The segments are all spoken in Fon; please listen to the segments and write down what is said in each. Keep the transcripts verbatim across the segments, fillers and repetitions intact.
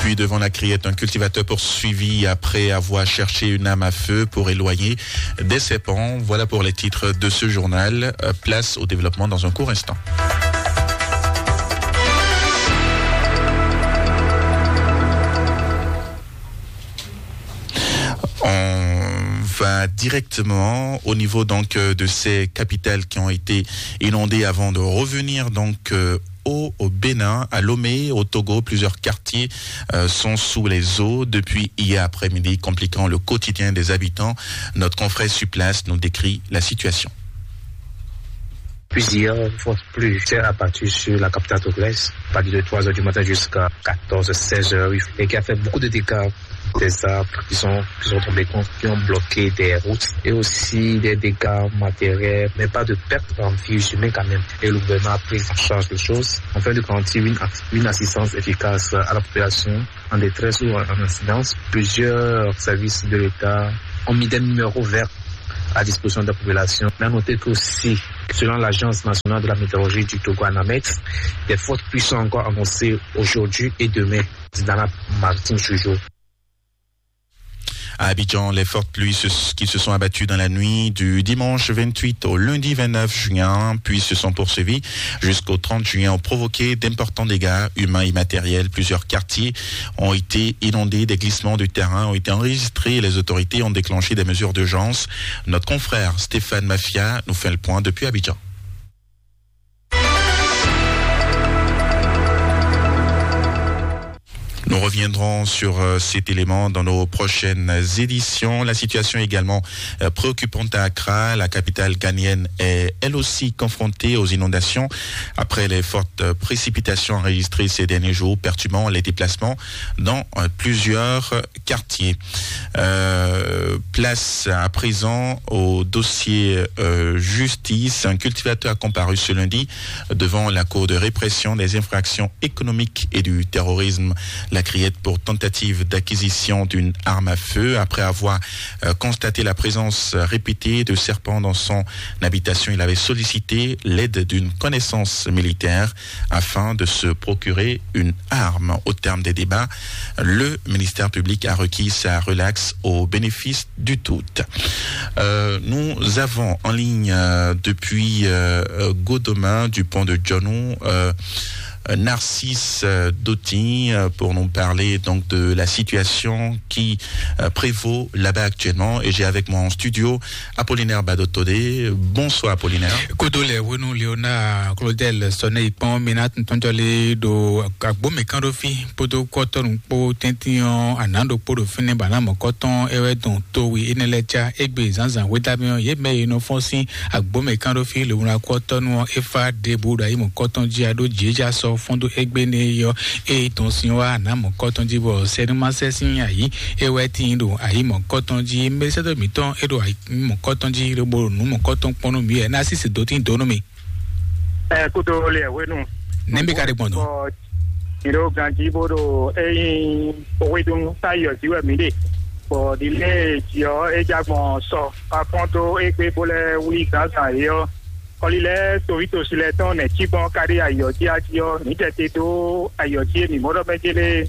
Puis devant la criette, un cultivateur poursuivi après avoir cherché une arme à feu pour éloigner des serpents. Voilà pour les titres de ce journal. Euh, place au développement dans un court instant. On va directement au niveau donc euh, de ces capitales qui ont été inondées avant de revenir donc euh, au, au Bénin, à Lomé, au Togo. Plusieurs quartiers euh, sont sous les eaux depuis hier après-midi, compliquant le quotidien des habitants. Notre confrère sur place nous décrit la situation. Plusieurs fortes pluies s'est abattue sur la capitale togolaise, à partir de trois heures du matin jusqu'à quatorze, seize heures, et qui a fait beaucoup de dégâts. Des arbres qui sont, qui sont tombés, qui ont bloqué des routes, et aussi des dégâts matériels, mais pas de perte en vie humaine quand même. Et le gouvernement a pris en charge les choses afin de garantir une, une assistance efficace à la population en détresse ou en incidence. Plusieurs services de l'État ont mis des numéros verts à disposition de la population. Mais à noter qu'aussi, selon l'Agence nationale de la météorologie du Togo, ANAMET, des fortes pluies sont encore annoncées aujourd'hui et demain dans la maritime toujours. À Abidjan, les fortes pluies qui se sont abattues dans la nuit du dimanche vingt-huit au lundi vingt-neuf juin, puis se sont poursuivies jusqu'au trente juin, ont provoqué d'importants dégâts humains et matériels. Plusieurs quartiers ont été inondés, des glissements de terrain ont été enregistrés et les autorités ont déclenché des mesures d'urgence. Notre confrère Stéphane Mafia nous fait le point depuis Abidjan. Nous reviendrons sur euh, cet élément dans nos prochaines éditions. La situation également euh, préoccupante à Accra. La capitale ghanéenne est elle aussi confrontée aux inondations après les fortes euh, précipitations enregistrées ces derniers jours, perturbant les déplacements dans euh, plusieurs quartiers. Euh, place à présent au dossier euh, justice. Un cultivateur a comparu ce lundi devant la Cour de répression des infractions économiques et du terrorisme, la Criette, pour tentative d'acquisition d'une arme à feu. Après avoir euh, constaté la présence répétée de serpents dans son habitation, il avait sollicité l'aide d'une connaissance militaire afin de se procurer une arme. Au terme des débats, le ministère public a requis sa relaxe au bénéfice du tout. Euh, nous avons en ligne euh, depuis euh, Godoma, du pont de Djonou, euh, Narcisse euh, Dotin euh, pour nous parler donc de la situation qui euh, prévaut là-bas actuellement. Et j'ai avec moi en studio Apollinaire Badotodé. Bonsoir Apollinaire. Kodo lɛ wenu Léonard Claudel Sɔnɛ ikpɔn mina tuntun jɔli do agbome kan do fi podo kɔtɔnu kpo tɛntin ɔ anado kpo do fini bana mɔ kɔtɔn ewɛ dɔn towi enɛ lɛ ca egbe zanzan wedami ɔ ye mɛ ye nɔ fɔn sin agbome kan do fi le wuna kɔtɔnu ɔ efa debu do ayi mɔ kɔtɔn ji ado jeja sɔ fɔn do egbe ne yɔ e tɔn sin wa na mɔ kɔtɔn ji bɔ sɛnuma sɛ sin ayi ewɛ tin do ayi mɔ kɔtɔn ji mɛ sɛ do mitɔn e do ayi mɔ kɔtɔn ji lobo nu mɔ kɔtɔn kpɔn nu mi ɛ na sisi do tin do nu mi. Ɛ kudo le hwenu. Nɛmbi ka de gbɔn dɔn. Iro ganji bodo eyin owedun sayɔ jiwɛ mi de. Bɔ dile jiɔ ejagbɔn sɔ afɔn to egbe bo lɛ wuli gansan yɔ. Kɔli lɛ tovi tosi lɛ tɔn nɛ cigbɔn kari ayɔ ji aji ɔ mi jɛ te do ayɔ ji mi mɔdɔ mɛ jele.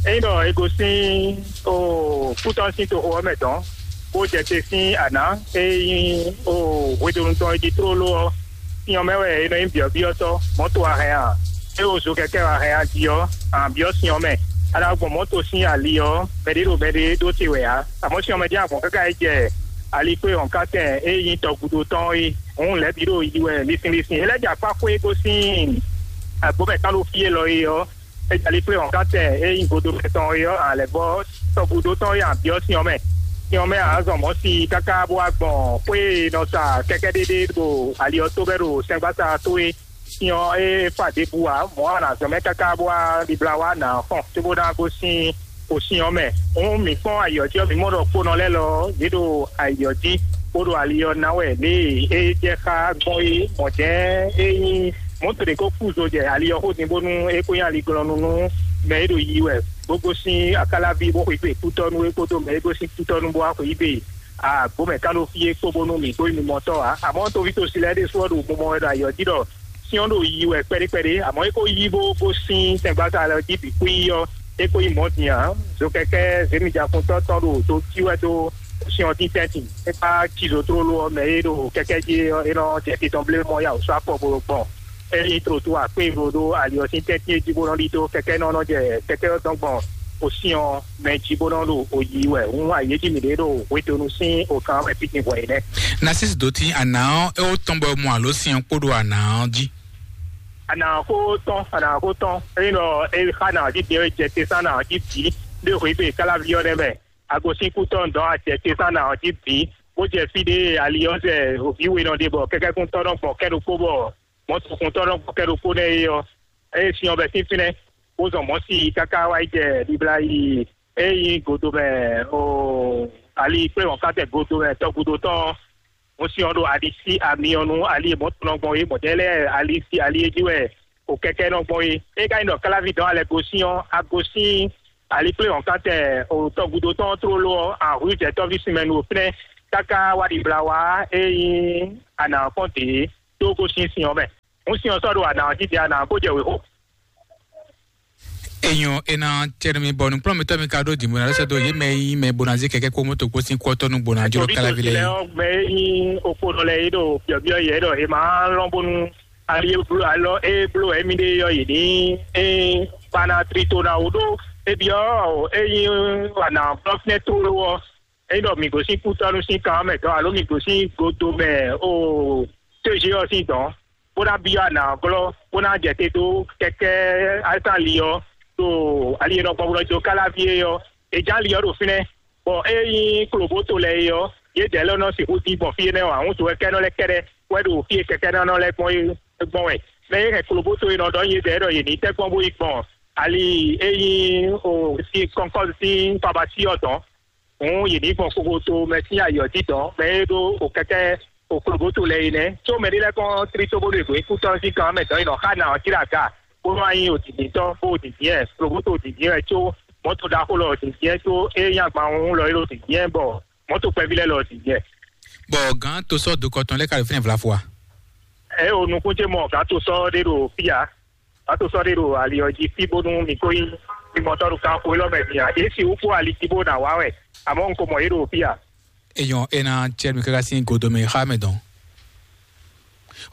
Eyin dɔ ego sin o kutɔn sin to o mɛ dɔn. Bó jɛ te sin ana eyin o hwedonu tɔn e ji tlóló ɔ. Sin ɔ́ mɛ wɛ è nɔ nyí byɔ̌byɔ́tɔ́, mɔ̌to a hɛn a? É wo zo kɛkɛ́ a hɛn a jí ɔ́, a nǎ byɔ́ sin ɔ́ mɛ. A nǎ gbɔn mɔ̌to sín ali ɔ́, mɛɖé ɖo mɛɖé ɖó te wɛ ǎ. Amɔ̌ sin ɔ́ mɛ jɛ́n a gbɔn káká yi jɛ alikpé wɔ̌nkántɛn e nyí tɔgúdo tɔn ɔ́ é. Hǔn lɛ̌ bǐ ɖo yi wɛ linsin linsin. É lɛ́ jɛ akpá xwé gosín agbǒmɛ tán ɖo fí élɔ́ é ɔ́, é jɛ alikpé wɔ̌nkántɛn e nyí godomɛ tɔn é ɔ́, a lɛ̌ vɔ́ tɔgúdo tɔn é a byɔ́ sin ɔ́ mɛ. Sin ɔ́ mɛ a zɔn mɔ̌ si káká bó wá gbɔn xwé e nɔ sa kɛ́kɛ́ɖéɖé ɖo ali ɔ́ tó bɛ́ ɖo sɛngbása tó é. Sin ɔ́ é fa ɖěbǔ ǎ, mɔ̌ a nǎ zɔn mɛ káká bó wá ɖibla wá nǎ xɔn cóbó ná gosín xo sin ɔ́ mɛ. Hǔn mǐ kpɔ́n ayǐ ɔ́ jí ɔ́, mǐ mɔ ɖɔ kponɔ lɛ́ɛ lɔ ɔ́, yě ɖo ayǐ ɔ́ jí, bó ɖo ali ɔ́ ná wɛ lě e é jɛ xá gbɔn é. Mɔ̌ jɛ́n é nyí mɔ̌to ɖě ko kú zo jɛ ali ɔ́ xó din bónú é kó nyí aliglɔ́nú nú mɛ e ɖo yiyi wɛ bó gosín Akáláví bó xweyǐgbe kútɔ́ nú é kpódó mɛ e gosín kútɔ́ nú bó wá xweyǐgbe agbǒmɛ kán ɖo fí é kpó bónú mǐ kpó nyí mimɔtɔ́ ǎ. Amɔ̌ toví tosi lɛ́ɛ ɖésú ɔ́ ɖo mumɔ wɛ ɖo ayǐ ɔ́ jí ɖɔ sin ɔ́ ɖo yiyi wɛ kpɛɖé kpɛɖé, amɔ̌ é ko yí bó gosín sɛngbása lɛ́ɛ ɔ́ jí bǐ xwíí ɔ́, é ko nyí mɔ̌ din ǎ. Zokɛkɛ́ zěmijǎkuntɔ́ tɔn ɖo to cí wɛ dó syɔ́n dín tɛ́ntin. É kpá cizo tlóló ɔ́ mɛ e ɖo kɛkɛ́ jí é ɔ́, é nɔ jɛ titɔn blé mɔ yá wǒ sɔ́ afɔ bo ɖo gbɔn. É nyí trotu akpé e ɖo ɖó ali ɔ́ sín tɛ́ntin e jí bó nɔ ɖidó kɛkɛ́ nɔ nɔ jɛ kɛkɛ́ ɔ́ dɔn gbɔn osyɔ́n mɛ jí bó nɔ ɖo oyi wɛ. Hǔn ayǐ e jí mǐ ɖe ɖo hwedonu sín okan wɛ fífín hwɛ é nɛ́. Nasis dó tín ana ɔ́, é wó tɔn bɔ é mɔ alǒ sin ɔ́ kpó ɖo ana ɔ́ jí. Ana xó tɔn, ana xó tɔn. Ényí ɖɔ é xa na ɔ́ jí din é jɛ te sán na ɔ́ jí bǐ, ɖé hwǐ gbe káláví ɔ́ nɛ́ mɛ. Agosín kútɔ́ dɔn a jɛ te sán na ɔ́ jí bǐ, bó jɛ fí ɖé ali ɔ́ zɛ vǐ we nɔ ɖe bɔ kɛkɛ́kúntɔ́ nɔ gbɔn kɛ́ ɖokpó bɔ mɔ̌ tokuntɔ́ nɔ gbɔn kɛ́ ɖokpó nɛ́ é ɔ́, é syɔ́n bɛ́ sín fínɛ́, bó zɔn mɔ̌ si káká wá yi jɛ ɖibla yi é nyí godomɛ o ali kplé wɔ̌nkatɛ godomɛ tɔgúdo tɔn ɔ́. Mɔ̌ syɔ́n ɖo ali sí ami ɔ́ nú ali e mɔ̌ tɔn nɔ gbɔn é, mɔ̌ tɛ́ lɛ́ɛ ali sí ali e jí wɛ o kɛkɛ́ nɔ gbɔn é. É ka nyí ɖɔ káláví dɔn alɛ gosín ɔ́, agosín ali kplé wɔ̌nkatɛ o tɔgúdo tɔn ɔ́ tlóló ɔ́, ahwǐjɛtɔ́ví sinmɛ nu o fínɛ́ káká wá ɖibla wá é nyí anǎ kɔn dě tó gosín sin ɔ́ mɛ. Hǔn sin ɔ́ sɔ́ ɖo anǎ ɔ́ jí din anǎ ɔ́ kó jɛ wěxo. Enyɔ ena tɛnumi bɔ nukplɔ́nmɛtɔ́ mi ka ɖó dǐnbó ná lɛ́ sɛ́ dó yě mɛ e nyí mɛ bo ná zé kɛkɛ́ kpó mɔ̌to kpó sín kú ɔ́ tɔ́ nú bo ná jló káláví lɛ́ɛ. Ɔ́ mɛ e nyí okponɔ lɛ́ɛ é ɖo byɔ̌byɔ́ yě ɖɔ è ma lɔn bónú ali e bló alɔ e bló wɛ émí ɖe ɔ́ yě ní é kpana trito ná wú ɖó é byɔ́ é nyí wana blɔ́ fínɛ́ tlóló ɔ́. Ényí ɖɔ mǐ gosín kútɔ́nú sín kan ɔ́ mɛ dɔn alo mǐ gosín godo mɛ o T G ɔ́ sín dɔn, bó ná byɔ́ anǎ glɔ́, bó ná jɛ te dó kɛkɛ́ Alísali ɔ́, ɖo ali e nɔ gbɔn bó nɔ jó Káláví é ɔ́, è ján ali ɔ́ ɖo fínɛ́, bɔ é nyí klobǒto lɛ́ɛ é ɔ́, yědɛɛ lɛ́ɛ nɔ sixú dín gbɔn fí énɛ́ ɔ́ ǎ. Wútu wɛ kɛ́nɔ lɛ́ɛ kɛ́ɖɛ́ wɛ ɖo fí e kɛkɛ́nɔ lɛ́ɛ gbɔn é gbɔn wɛ. Mɛ e hɛn klobǒto e nɔ ɖɔ nyí yědɛɛ ɖɔ yě ní tɛ́ gbɔn bó yi gbɔn ali e nyí o sí kɔnkɔ́ sín pabasí ɔ́ dɔn. Hǔn yě ní gbɔn kokoto mɛ sín ayǐ ɔ́ jí dɔn, mɛ e ɖó o kɛkɛ́ o klobǒto lɛ́ɛ é nɛ́. Có mɛ ɖé lɛ́ɛ kɔn tlí tó bónú è gbǒ nyí kútɔ́ sín kan mɛ dɔn yi nɔ xá ná ɔ́ cí ɖo aga, bónú a nyí odǐndíntɔ́ bó odǐndín wɛ, klobǒto odǐndín wɛ, có mɔ̌to ɖaxó lɔ odǐndín wɛ, có é nyí agban wú lɔ é ɖo odǐndín wɛ, bɔ mɔ̌to kpɛví lɛ́ɛ lɔ odǐndín wɛ. Bɔ gǎn tosɔ́ dokɔ tɔn lɛ́ɛ ka ɖo fínɛ́ vlafo a? Ɛ o nukún ce mɔ gǎn tosɔ́ ɖé ɖo fí ǎ. Ato sɔ́ ɖé ɖo ali ɔ́ jí fí bónú mi kó nyí mimɔtɔ́ ɖo kanxo élɔ́ mɛ din ǎ. Yě sixú kpó ali jí bó ná wá wɛ, amɔ̌ un ko mɔ yě ɖo fí ǎ. Eyɔn ena cɛ mi káká sín godomɛ xá mɛ dɔn.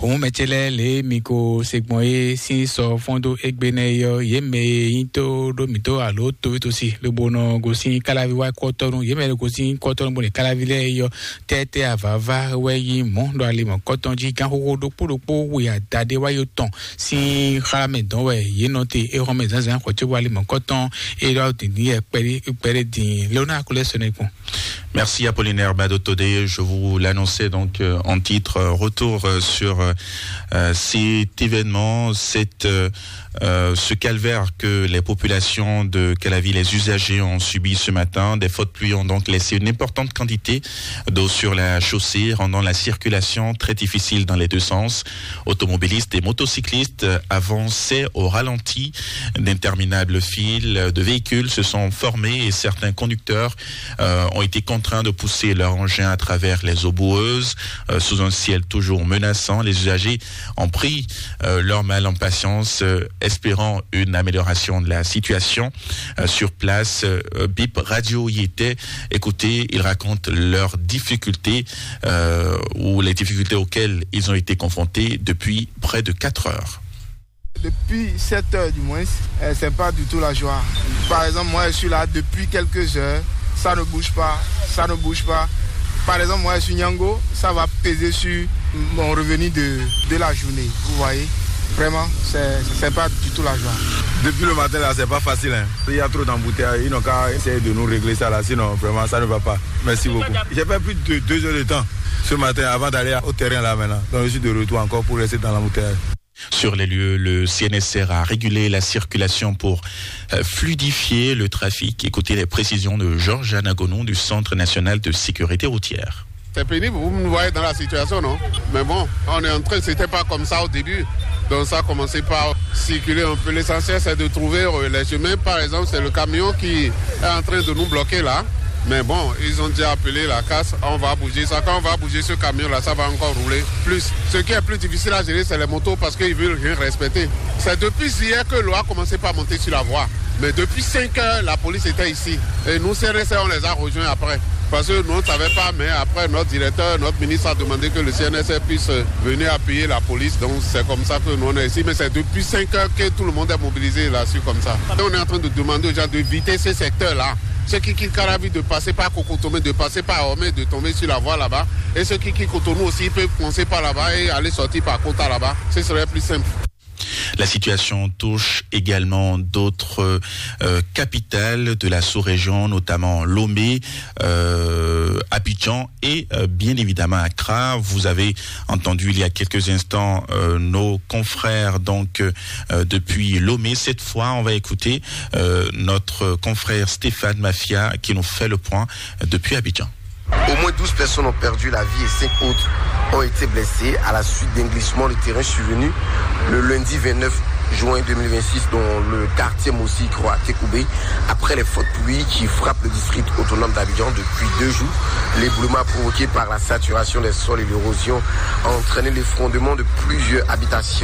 Òun mɛ ce lɛ́ɛ lě mi ko se gbɔn é sín sɔ fɔ́n dó égbé nɛ́ é ɔ́, yě mɛ e nyí tó ɖó mǐtó alo tóvítósi lobo nɔ gosín káláví wá kɔ́tɔ́nu, yě mɛ e gosín kɔ́tɔ́nu bó ɖe káláví lɛ́ɛ é ɔ́, tɛ́tɛ́ avǎvá wɛ nyí mɔ̌ ɖo ali mɔ̌kɔtɔn jí. Gánxóxó ɖokpó ɖokpó we adaɖé wáyé tɔn sín xlá mɛ dɔn wɛ yě nɔ te é xɔ́mɛ zǎnzǎn xɔ cóbɔ ali mɔ̌kɔtɔn é ɖɔ dǐndín yɛ kpɛɖé kpɛɖé dín. Léonard Coulais sɔnɛ kpɔn. Merci Apollinaire Badotodé. Je vous l'annonçais donc euh, en titre, euh, retour euh, sur euh, euh, cet événement, cette, euh, euh, ce calvaire que les populations de Calavi, les usagers ont subi ce matin. Des fortes pluies ont donc laissé une importante quantité d'eau sur la chaussée, rendant la circulation très difficile dans les deux sens. Automobilistes et motocyclistes avançaient au ralenti. D'interminables files de véhicules se sont formées et certains conducteurs euh, ont été contraints de pousser leur engin à travers les eaux boueuses, euh, sous un ciel toujours menaçant. Les usagers ont pris euh, leur mal en patience, euh, espérant une amélioration de la situation. Euh, sur place, euh, Bip Radio y était. Écoutez, ils racontent leurs difficultés euh, ou les difficultés auxquelles ils ont été confrontés depuis près de quatre heures. Depuis sept heures du moins, euh, c'est pas du tout la joie. Par exemple, moi je suis là depuis quelques heures, ça ne bouge pas, ça ne bouge pas. Par exemple, moi je suis Nyango, ça va peser sur mon revenu de, de la journée, vous voyez. Vraiment, c'est c'est pas du tout la joie. Depuis le matin là, c'est pas facile, hein. Il y a trop d'embouteillages, ils n'ont qu'à essayer de nous régler ça là, sinon vraiment ça ne va pas. Merci beaucoup. J'ai fait plus de deux heures de temps ce matin avant d'aller au terrain là maintenant. Donc je suis de retour encore pour rester dans l'embouteillage. Sur les lieux, le C N S R a régulé la circulation pour euh, fluidifier le trafic. Écoutez les précisions de Georges Anagonou du Centre national de sécurité routière. C'est pénible, vous me voyez dans la situation, non? Mais bon, on est en train, c'était pas comme ça au début. Donc ça a commencé par circuler un peu. L'essentiel, c'est de trouver euh, les chemins. Par exemple, c'est le camion qui est en train de nous bloquer là. Mais bon, ils ont déjà appelé la casse. On va bouger ça. Quand on va bouger ce camion-là, ça va encore rouler plus. Ce qui est plus difficile à gérer, c'est les motos parce qu'ils veulent rien respecter. C'est depuis hier que l'eau a commencé par monter sur la voie. Mais depuis cinq heures, la police était ici. Et nous, C N S R, on les a rejoints après. Parce que nous, on ne savait pas, mais après, notre directeur, notre ministre a demandé que le C N S R puisse venir appuyer la police. Donc, c'est comme ça que nous, on est ici. Mais c'est depuis cinq heures que tout le monde est mobilisé là-dessus comme ça. Et on est en train de demander aux gens d'éviter ces secteurs-là. Ceux qui quittent Caravi, de passer par Kokotomé, de passer par Hormé, de tomber sur la voie là-bas. Et ceux qui quittent Cotonou aussi, ils peuvent commencer par là-bas et aller sortir par Kota là-bas. Ce serait plus simple. La situation touche également d'autres, euh, capitales de la sous-région, notamment Lomé, euh, Abidjan et, euh, bien évidemment Accra. Vous avez entendu il y a quelques instants, euh, nos confrères donc, euh, depuis Lomé. Cette fois, on va écouter, euh, notre confrère Stéphane Mafia qui nous fait le point, euh, depuis Abidjan. Au moins douze personnes ont perdu la vie et cinq autres ont été blessées à la suite d'un glissement de terrain survenu le lundi vingt-neuf juin deux mille vingt-six dans le quartier Mossy Croix à Tekoubé, après les fortes pluies qui frappent le district autonome d'Abidjan depuis deux jours. L'éboulement provoqué par la saturation des sols et l'érosion a entraîné l'effondrement de plusieurs habitations.